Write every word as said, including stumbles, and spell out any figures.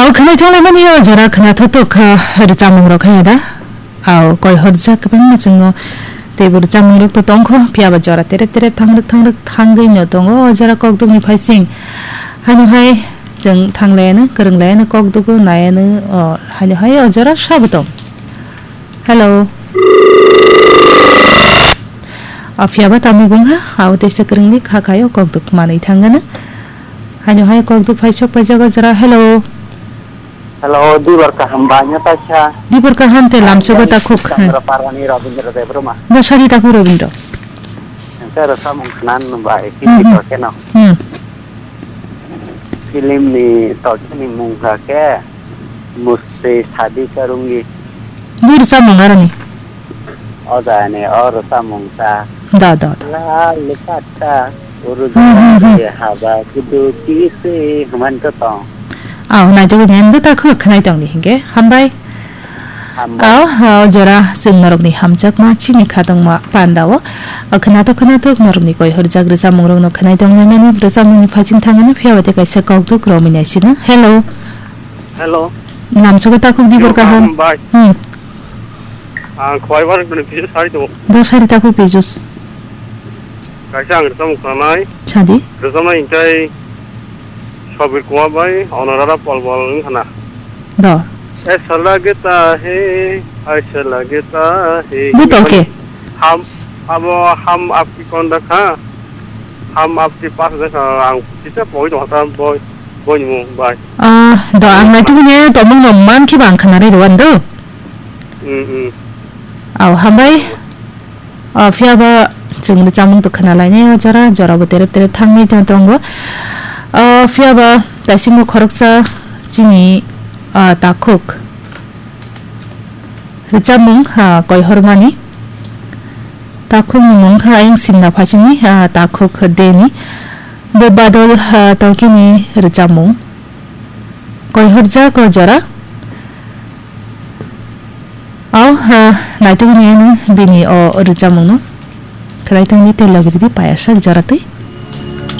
O khwnai thanglaimani o jora khwnathok kha rwchapmung rok haya da. Au koi horjak kwbangma chwngno teibo rwchapmung rok to tongkho, phiya ba jora terep terep thangrwk thangrwk thangwi no tongo o jora kokdukni phaising. Haino hai chwng thanglaiano, kwrwnglaino, kokdugo naiano, o haino hai o jora sabo tong. Hello. O phiya ba tamo bungha, au teisa kwrwngni kha khaio kokduk manwi thangano. Haino hai kokduk phaisok paijak o jora. Hello. Hello, dibor kaham ba, nya taisa. Dibor kaham te lamsogo takhuk. Chandra Parani Rabindra Debbarma. Dosari takhuk Rabindra. Engke rwchapmung khwna nung bai, Hmm, Hindi hmm. Tolkien no. Hmm. Film ni Tolkien ni mung kha khe Muste Shadi Karungi. Bui rwchapmung aroni. O jani o rwchapmung ta. Da, da, da. Lal patta, uru Hmm, hmm, hmm. Jagade haba kudu kise hwnwi to tong. Au, naitugwi nai, ang do takhuk khwnai tongdi hinkhe. Hambai. Hambai. Au, au, jora chwng norokni hamjakma chini khatungma pandao. O khwnathok khwnathok norokni koi horjak rwchapmung rokno khwnai tonglaimani rwchapmungni phaising thangano phiya ba tei kaisa kokduk romwi naisino. Hello. Hello. Lamsogo takhuk dibor Yo, kaham. Hambai. Hmm. Ang khwlaibar kunu kisa sari tongo. Do sari takhuk pijus. Kaisa ang rwchapmung khwnanai. Sadi. Rwchapnai hinkhe Sabir Kumar bai Onurada Polbol wng khana. Do. Aisa lageta hai, aisa lageta hai. Bu to ke? Ham, abo ham apki kon dakha? Ham apki pas dakha, ang kisa poi tongkha boy, boy ni mung bai. Ah, do ang naitukni tongmung no mankhe ba ang khwnarwi rw ang do. Mm, mm. Au, hambai. O, phiya ba chwng rwchapmung to khwnalainai o jora, jora bo terep terep thangwi tong tongo. O, phiya ba taisingo khoroksa chini, o, takhuk rwchapmung, ha, koi hormani. Takhukni mung kha ayang simna phasingni, ha, takhuk deni. Bo badol, ha, tongkini rwchapmung. Koi horjak o jora. Au, ha, naitukni ani bini o rwchapmungno. Khwlai tongdi tei logi ridi payasak jora twi.